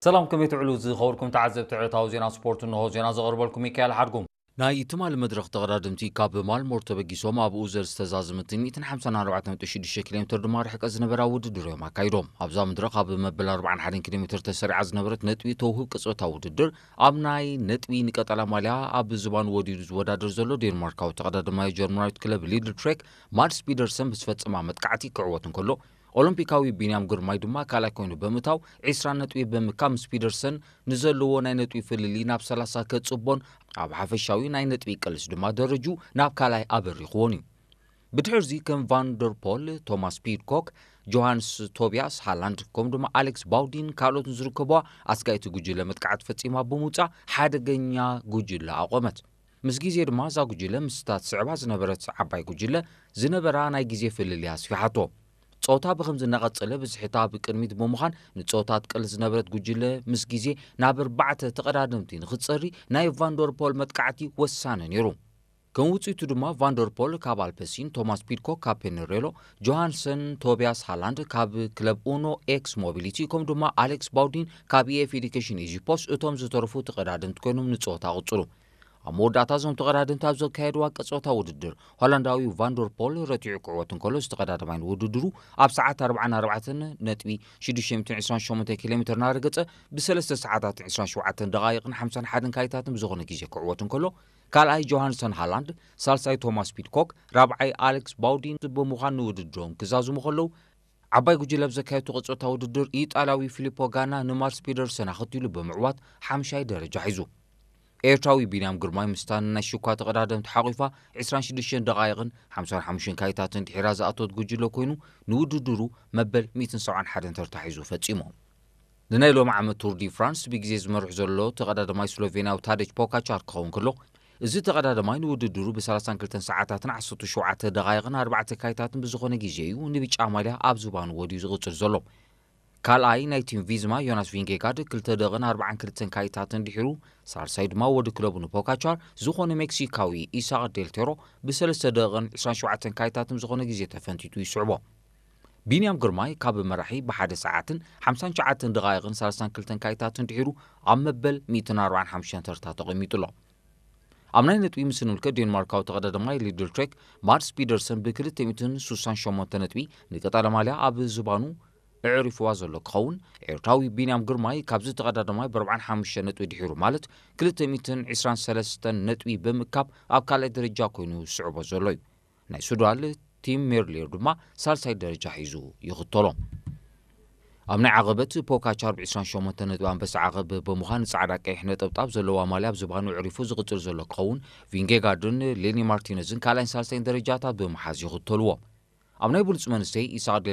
ሰላም፣ ከመይ ትውዕሉ ዝኸበርኩም ተዓዘብቲ ዕለታዊ ዜና ስፖርት? እንሆ ዜና ዘቕርበልኩም ሚካኤል ሓድጉም። ናይ ትማሊ መድረኽ ተቐዳደምቲ ካብ ማልሞር ተበጊሶም ኣብኡ ዘር ዝተዛዘመትን ሚእትን ሓምሳን ኣርባዕተን ነጥቢ ሽዱሽተ ኪሎ ሜትር ድማ ርሕቀት ዝነበራ ውድድር እዮም ኣካይዶም። ኣብዛ መድረኽ ኣብ መበል ኣርባዓን ሓደን ኪሎ ሜትር ተሰሪዓ ዝነበረት ነጥቢ ተውህብ ቅጽበታዊ ውድድር ኣብ ናይ ነጥቢ ንቀጠላ ማልያ ኣብ ዝባን ወዲዱ ዝወዳደር ዘሎ ዴንማርካዊ ተቐዳዳማይ ጀርመናዊት ክለብ ሊድል ትሬክ ማድስ ፒደርሰን ብዝፈጸማ መጥቃዕቲ ክዕወት እንከሎ፣ ኦሎምፒካዊ ቢንያም ግርማይ ድማ ካልኣይ ኮይኑ ብምእታው ዒስራ ነጥቢ ብምካብ ምስ ፒደርሰን ንዘለዎ ናይ ነጥቢ ፍልልይ ናብ ሰላሳ ከጽቦን ኣብ ሓፈሻዊ ናይ ነጥቢ ቅልስ ድማ ደረጁ ናብ ካልኣይ ኣበሪኽዎን እዩ። ብድሕርዚ ከም ቫንደርፖል፣ ቶማስ ፒድኮክ፣ ጆሃንስ ቶቢያስ ሃላንድ ከምኡ ድማ ኣሌክስ ባውዲን ካልኦትን ዝርከብዋ ኣስጋይቲ ጉጅለ መጥቃዕቲ ፈጺማ ብምውጻእ ሓደገኛ ጉጅለ ኣቖመት። ምስ ግዜ ድማ እዛ ጉጅለ ምስታ ትስዕባ ዝነበረት ዓባይ ጉጅለ ዝነበራ ናይ ግዜ ፍልልይ ኣስፊሓቶ። ጸወታ ብኸምዚ እናቐጸለ ብዝሒታ ኣብ ቅድሚት ብምዃን ንጸወታ ትቀልስ ዝነበረት ጉጅለ ምስ ግዜ ናብ ኣርባዕተ ተቐዳደምቲ ንኽትጸሪ ናይ ቫንደርፖል መጥቃዕቲ ወሳኒ ነይሩ። ከም ውጽኢቱ ድማ ቫንደርፖል ካብ ኣልፐሲን፣ ቶማስ ፒድኮክ ካብ ፔነሬሎ፣ ጆሃንሰን ቶቢያስ ሃላንድ ካብ ክለብ ኡኖ ኤክስ ሞቢሊቲ ከምኡ ድማ ኣሌክስ ባውዲን ካብ ኢኤፍ ኤዱኬሽን ኢዚፖስ እቶም ዝተረፉ ተቐዳደምቲ ኮይኖም ንጸወታ ቅጽሉ። ኣብ መወዳእታ እዞም ተቐዳደምቲ ኣብ ዘካየድዋ ቀጸወታ ውድድር ሆላንዳዊ ቫንደርፖል ረቲዑ ክዕወት እንከሎ፣ ዝተቐዳደማይ ንውድድሩ ኣብ ሰዓት ኣርባዓን ኣርባዕተን ነጥቢ ሽዱሽተ ሚእትን ዕስራን ሸሞንተን ኪሎ ሜትር እናረገጸ ብሰለስተ ሰዓታትን ዕስራን ሸውዓተን ደቓይቕን ሓምሳን ሓደን ካይታትን ብዝኾነ ግዜ ክዕወት እንከሎ፣ ካልኣይ ጆሃንሰን ሃላንድ፣ ሳልሳይ ቶማስ ፒድኮክ፣ ራብዓይ ኣሌክስ ባውዲን ብምዃን ንውድድሮም ክዛዝሙ ከለዉ፣ ዓባይ ጉጅለ ኣብ ዘካየድቶ ቀጸወታ ውድድር ኢጣልያዊ ፊሊፖ ጋና ንማርስ ፒደርሰን ኣኸቲሉ ብምዕዋት ሓምሻይ ደረጃ ሒዙ። ኤርትራዊ ቢንያም ግርማይ ምስታ ናይ ሽኳ ተቐዳደምቲ ሓቒፋ ዕስራን ሽዱሽተን ደቓይቕን ሓምሳን ሓሙሽተን ካይታትን ድሒራ ዝኣተወት ጉጅለ ኮይኑ ንውድድሩ መበል ሚእትን ሰብዓን ሓደን ተርታ ሒዙ ፈጺሙ። ንናይ ሎሚ ዓመት ቱር ዲ ፍራንስ ብግዜ ዝመርሕ ዘሎ ተቐዳዳማይ ስሎቬንያዊ ታደጅ ፖካቻር ክኸውን ከሎ፣ እዚ ተቐዳዳማይ ንውድድሩ ብ ሰላሳን ክልተን ሰዓታትን ዓሰርተ ሸውዓተ ደቓይቕን ኣርባዕተ ካይታትን ብዝኾነ ግዜ እዩ ንብጫ ማልያ ኣብ ዝባኑ ወዲዩ ዝቕጽል ዘሎ። ካልኣይ ናይ ቲም ቪዝማ ዮናስ ቪንጌጋርድ ክልተ ደቕን ኣርባዓን ክልተን ካይታትን ድሒሩ፣ ሳልሳይ ድማ ወዲ ክለቡ ንፖካቻር ዝኾነ ሜክሲካዊ ኢሳቕ ዴልቴሮ ብሰለስተ ደቕን ዕስራን ሸውዓተን ካይታትን ዝኾነ ግዜ ተፈንቲቱ ይስዕቦ። ቢንያም ግርማይ ካብ መራሒ ብሓደ ሰዓትን ሓምሳን ትሽዓተን ደቓይቕን ሰላሳን ክልተን ካይታትን ድሒሩ ኣብ መበል ሚእትን ኣርባዓን ሓሙሽተን ተርታ ተቐሚጡ ኣሎ። ኣብ ናይ ነጥቢ ምስ ንምልከት ዴንማርካዊ ተቐዳዳማይ ሊድል ትሬክ ማድስ ፒደርሰን ብክልተ ሚእትን ስሳን ሸሞንተ ነጥቢ ንቀጠላ ማልያ ኣብ ዝባኑ ኣዕሪፍዋ ዘሎ ክኸውን፣ ኤርትራዊ ቢንያም ግርማይ ካብዚ ተቐዳዳማይ ብኣርባዓን ሓሙሽተን ነጥቢ ድሒሩ ማለት ክልተ ሚእትን ዕስራን ሰለስተን ነጥቢ ብምእካብ ኣብ ካልኣይ ደረጃ ኮይኑ ዝስዕቦ ዘሎ እዩ። ናይ ሱዳን ቲም ሜርሌር ድማ ሳልሳይ ደረጃ ሒዙ ይኽተሎ። ኣብ ናይ ዓቐበት ፖካቻር ብ ዕስራን ሸሞንተ ነጥቢ ኣንበሳ ዓቐብ ብምዃን ጻዕዳ ቀይሕ ነጠብጣብ ዘለዋ ማልያ ኣብ ዝባኑ ኣዕሪፉ ዝቕጽል ዘሎ ክኸውን፣ ቪንጌጋርድን ሌኒ ማርቲነዝን ካልኣይን ሳልሳይን ደረጃታት ብምሓዝ ይኽተልዎ። ኣብ ናይ ብሉጽ መንስተይ ኢሳቕ ዴል